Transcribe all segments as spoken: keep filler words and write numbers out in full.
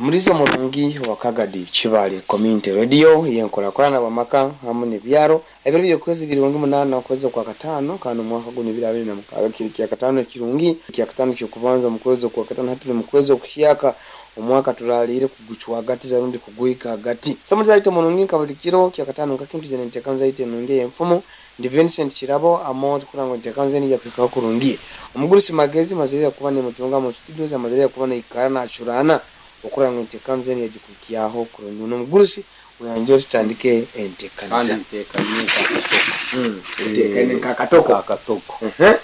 Mulizo murungi wa Kagadi Kibale Community Radio yenkurakurana bwamaka hamu n'ebyaro. Ebiro by'okwezi birungi munaana okwezi kwa kataano, kandi omwaka guno ebiro abiri na mukaaga, kiri kya kataano kirungi, kya kataano ky'okubanza mu kwezi kwa kataano. Hati turi mu kwezi okuhyaka, omwaka turaliire kugucwa hagati rundi kugwika hagati. So mulizo murungi, nka buli kiro kya kataano, nka kintu jene ntekanza ite nungi enfumu. Ndi Vincent Kirabo Amot kurango ntekanza ni yakwikaho kurungi. Omugurusi Magezi mazire kuba nimutunga mu studios, amazire kuba naikara nachurana okuranga entekanza eni yagikukyaho kurungi. N'omugurusi uyanjye tutandike entekaniza. Kandi ntekanye nkakatoko. Utekane nkakatoko. Nkakatoko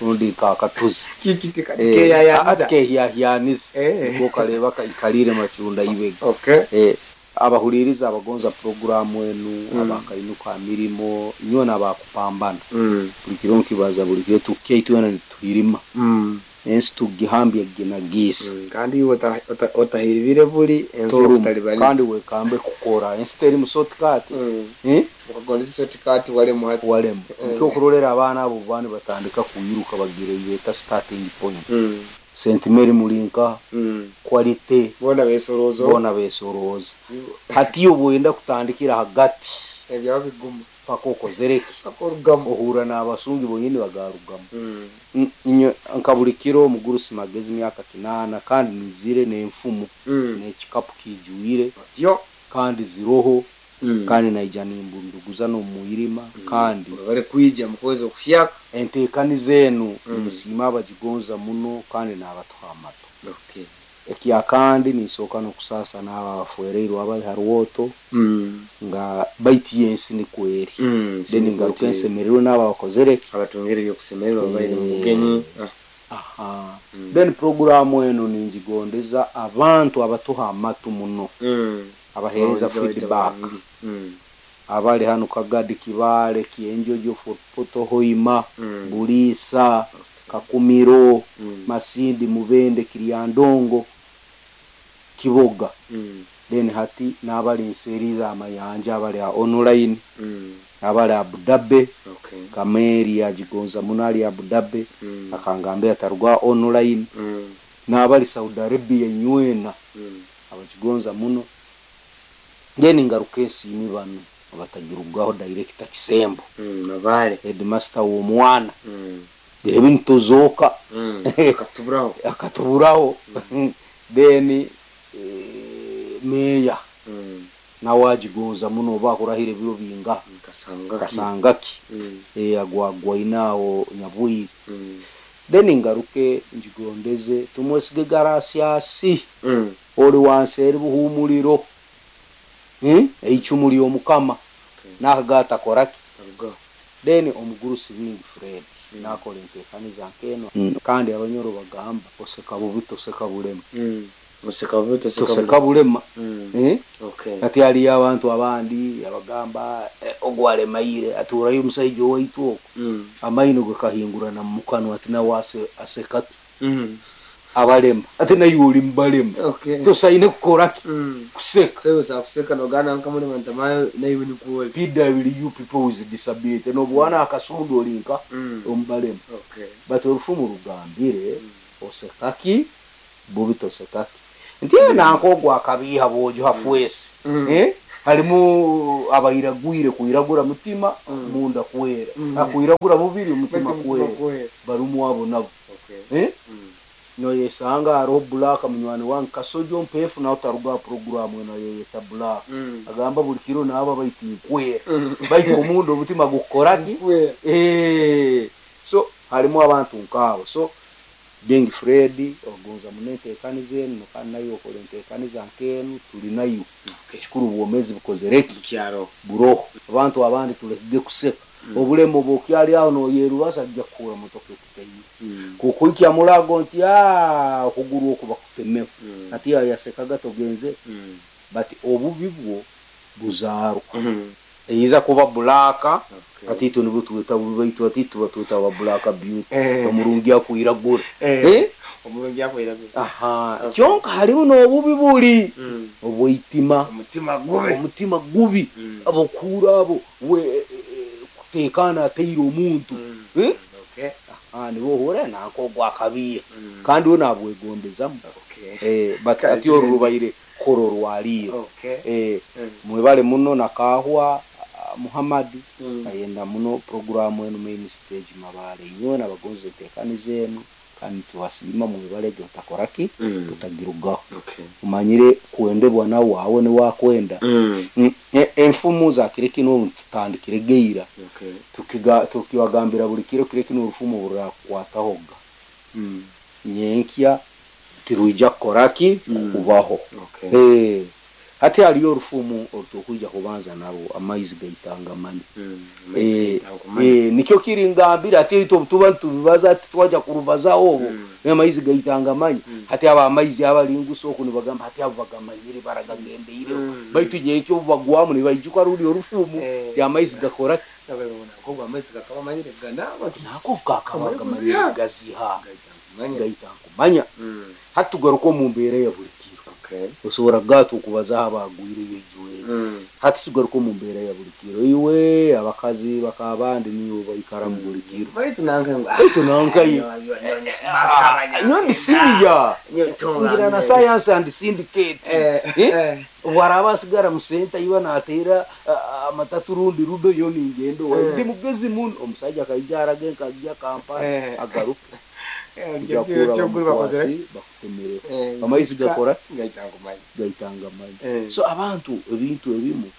rundi nkakatuzi. Kiki tikeyayanza? Kehyahyanisa. Eh. Niko kareba kaikalire machunda ibega. Okay. Eh, abahuliriza abagonza puroguramu enu, Mm. abakainuka mirimo nyowe nabakupambana, Mm. buli kiro nkibaza, buli kiro tukyaitu wena nituhirima, Mm. ensi tugihambya ginagiisa. Mm. Kandi iwe ota- ota- otahiribire buli ensi Torumu. okutalibaniza. Kandi wekambe kukora, ensi teri musotikati. Mm. Eh? Ukagondeza sotikati walemu hati. Walemu. Mm. Nikyo okurolera abaana abo bani batandika kuyiruka bagira ibeta starting point. Mm. Sentimeri mulinka Mm. quality. Bona besorozo. Bona besoroza. Hati obwenda kutandikira hagati, ebyabo bigumu, paka okozereki, akorugamu. Ohura n'abasungi bonyini bagarugamu. Mm. N- inyo nka buli kiro, omugurusi Magezi, myaka kinaana, kandi nizire n'enfumu Mm. n'ekikapu kijwire. Yo. Kandi ziroho. Mm. Kandi naija nimbunduguza n'omwirima kandi bari kwija mu kwezi okuhyaka. Enteekaniza enu, Mm. nsiima abagigonza muno kandi n'abatuha amato. Okay. Ekya kandi ninsooka n'okusaasa n'abo abafereirwe abali ha rwoto, Mm. nga baiti yensi nikwo eri. Mm. Then ngaruka ensemererwe n'abo abakozere. Abatungire ebyokusemererwa babaire mu Eh. bugenyi. Ah. Aha. Mm. Then programu enu ningigondeza abantu abatuha amatu muno, Mm. abaheereza Abawuliza baita feedback, barungi. Mm. abali hano Kagadi, Kibale, Kyenjojo, Fort Portal, Hoima, Mm. Buliisa, Kakumiro, Mm. Masindi, Mubende, Kiryandongo, Kiboga. Mm. Then hati n'abali nseeri z'amayanja, abali a online, Mm. abali Abu Dhabi. Okay. Kameeri yagigonza muno, ali Abu Dhabi, Mm. akangambira atarugwa online, Mm. n'abali Saudi Arabia nywena, Mm. abakigonza muno. Then ngaruka ensiimi bano abatagirugaho, director Kisembo, Mm. Mabale. Headmaster w'omwana, Mm. bire bintu tozooka. Mm. Akatuburaho. Akatuburaho. Then eh, meya Mm. nawe agigonza muno, oba akurahira ebiro binga. Kasanga ki. Kasangaki. Mm. eh, agwagwaine awo Nyabwire. Mm. Then ngaruke ngigondeze tumwesige Garasiasi, Mm. oli wansi eri buhumuliro. Hmm? Eicumu ly'omukama. Okay. Nakagata koraki. Arugaho. Then omugurusi Bingi Fred Mm. nakola enteekaniza nkeno. Kandi abanyoro bagamba, oseka bubi toseka bulema. Mm. Oseka bubi toseka. Toseka bulema. Mm. Eh? Okay. Ati haliyo abantu abandi abagamba, eh, ogwalemaire aturayo omusaija owaitu okwo, Mm. amaino gakahingurana mumukanwa, ati nawe ase- asekaki Mm. abalema, ate naye oli mubalema. Okay. Tosaine kukoraki? Mm. Kuseka. Sasa usakuseka nogana nkamuli ntamayo naiwe nikuole. P W, people with disability, nobwana akasundu olinka Mm. omubalema. Okay. But olufumu lugambire, osekaki bubi tosekaki, nti nanka ogwo akabiiha bwojo hafwesi. Mm. Eh? Harimu abairagwire kwiragura mutima, Mm. munda kwera, Mm. akwiragura mubiri, mutima Mutima kwera. kwera. Barumu abo nabo. Okay. Eh? Mm. Noyesanga hariho Black, munywani wange Kasojo Mpefu, nawe taruga programu eno yeyeta Black. Mm. Agamba buli kiro naaba baiti nkwera, Mm. baitu omundu omutima gukoraki? Kwera. Eh, so harimu abantu nkaabo. So Bingi Fred ogonza muno enteekaniza enu, kandi nayo okola enteekaniza nk'enu, tuli nayo. Ekikuru obwomezi bukozereki? Kyaro. Buroho. Abantu abandi tulekige kuseka obulema obwokyali aho noyerubasa, ajja kukuura motoka ekuteire, Mm. kukuikya mulago nti "Ah, okuguru okuba kutemeho." Mm. Ati yasekaga togenze. Mm. But obubi bwo buzaarwa, Mm. eiza kuba black. Okay. Ati itwe nibwo tweta bubi, baitu ati tuba tweta ba black beauty. Eh. Omurungi akwiragura. Eh. Eh? Omurungi akwiragura. Aha. Okay. Kyonka harimu n'obubi buli Mm. obweitima. Omutima gubi. Omutima gubi. Mm. Abokuura abo we eh, eh, kuteekana ateire omuntu. Mm. Eh? Okay. Ah, nibo ohura nanka ogwo akabiya, Mm. kandi we nabwegondezamu. Okay. Eh, but Kale. ati oru rubaire kukora orwaliiro. Okay. Eh, Mm. mwebale muno nakahwa ah, Muhammad. Mm. Ayenda muno programu enu main stage mabale inyowe nabagonza enteekaniza enu kandi tubasiima mwebale gyo otakoraki Mm. tutagirugaho. Okay. Umanyire kwendebwa nawe awe niwakwenda. Mm. Mm, e- enfumu za kiro kinu obu tutandikire geira Okay. tukiga tukibagambira buli kiro kiro kinu orufumu rurakukwatahoga Mm. nyenkya tirwija kukoraki Mm. kubaho. Okay. Eh, hati haliyo orufumu orutukwija kubanza narwo, amaizi gaitanga mani. Mm. Eh, Amaizi eh, nikyo kiri ngambira ati itwe tuba tubibaza ati twaja kurubazaho obu Mm. amaizi gaitanga manyi. Mm. Hati aba amaizi abalingusa oku nibagamba hati abo bagamanyire baragambeire Mm. baitu nyenkyo obu bagwamu nibaijuka ruli orufumu Eh. ti amaizi gakora nako amaizi gakaba manyire ganaba nako kakaba Amaizi gamanyire gaziha. gaziha manyire. gaita nkumanya. Mm. Hati tugaruka omu mbeera ya buli kiro. Okay. Osobola kugaata okubazaho abagwireyo ijweri. Mm. Hati tugaruka omu mbeera ya buli kiro, iwe abakazi bakabandi niyo baikara mu buli kiro. Baitu nange ngu Baitu nankaye nyo ndi senior ngira na science and syndicate. Eh, Eh? eh. Bwaraba asigara mu senta iba nateera ah, amatatu rundi rudo yo ningendo. Eh. Ndi mugezi muno omusajja akaija arage nkajja Kampala Eh. agaruke Eh, kuja kura kyokuri bakozere. bamukwasi bakutemereho Eh, amaizi gakora gaitanga manyi. gaitanga manyi. Eh. So abantu ebintu ebimu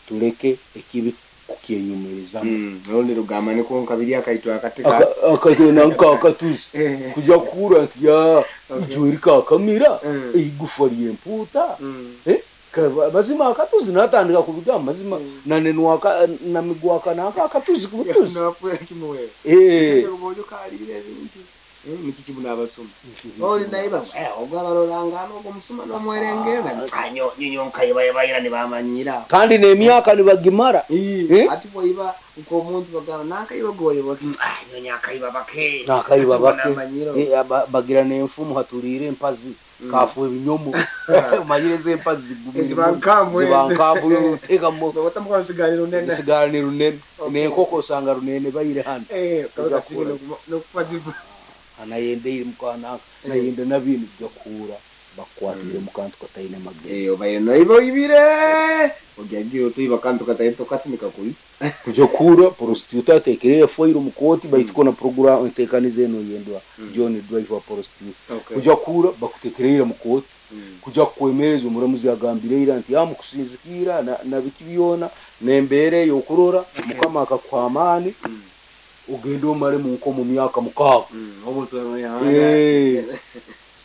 tuleke ekibi kukyenyumirizamu. Mm. Rundi rugamba niko nkabiri akaitwa akatika. Akatena nkakatuzi Eh. kuja kukura nti ya Okay. ijweri kakamira Mm. eigufa lyempuuta. Mm. Eh, ka- mazima akatuzi natandika kubigamba mazima Mm. nanenwaka namigwaka nanka akatuzi kubutuzi. Nafuera kimuwe. Eh. Obojo kalire ebintu. Eh, niki kibuna abasoma. Oli naiba eh ogwa barorangana ogwo musuma nomwerengera. Anyo nyinyo nkayibayibayira nibamanyira. Kandi n'emyaka nibagimara. Eh? Ati bwoiba nk'omuntu bagamba nankayiba goyiba ah nyonya akayiba bake. Nakaiba bake. Namanyiro. Eh, aba- bagira n'enfumu hatuliire empazi Mm. kafu ebinyomo omanyire ezi empazi zigumire Eziba nkambwe. Ziba nkambwe oteekamu Otamukola siganiro nene. sigara ni runene. Okay. N'enkoko osanga runene baire hano. Eh, kabe Ojja kasige kukura. nokufa ziva. Anayendeire mukanaka Eh. nayenda nabintu bijja kuhura bakukwatire mukantu kataine magezi. Eh, obaire noiba oibire. Ogiagira otuiba kantu kataito katumika kuisi. Kuja kuhura prostitute atekere efoiro mukoti baitu kona program enteekaniza eno yendwa John Driver prostitute. Okay. Kuja kuhura bakutekereire mukoti Mm. kuja kukwemereza omuramuzi agambire ira nti amukusinzikira na, na biki byona nembeera eyokurora mukama akakuha amaani Mm. ogende omale munko mu myaka mukaaga. Mm, omuntu anoyahana. Eh.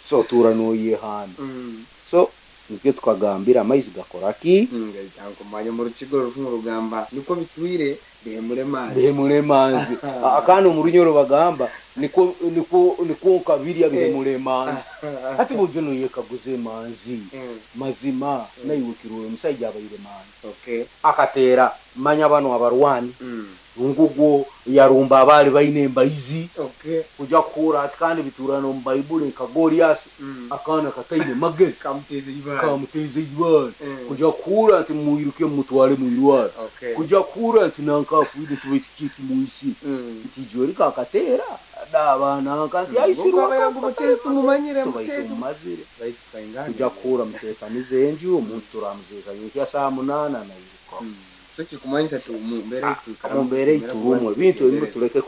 So otuura noyehana. Mm. So nikyo tukagambira amaizi gakora ki? Mm, gaitanga kumanya mu rukigo rufumu rugamba niko bitwire bihemure mazi. Bihemure manzi. Ah, kandi omu runyoro bagamba niko niko niko nkabirya bihemure manzi. Hati bujo noyekaguza emanzi Mm. mazima naiwukirwe omusajja abaire manzi Okay. akateera manya bano abarwani Mm. ngugwo yarumba abaali baine embaizi. Okay. Kuja kuhura ati kandi bituurana omu baibuli nka Goliasi Mm. akaana kataine magezi Kamuteze ibara. kamuteze ibara. Mm. Kuja kuhura nti mwiruke mumutware mwirwara. Okay. Kuja kuhura nti nanka afuire tubaite muisi Mm. nti ijweri kakateera dabananka nti aisirwa Aisirwa ngo mutezi tumumanyire tubaite mutezi. mumazire. Baitu kaingana. Kuja kuhura muteekanize enju omuntu turamuzeka yenkya saa munaana nairuka. Mm. So kikumanyisa ti mu mbeera Mu mbeera eiturumu ebintu ebimu tuleke.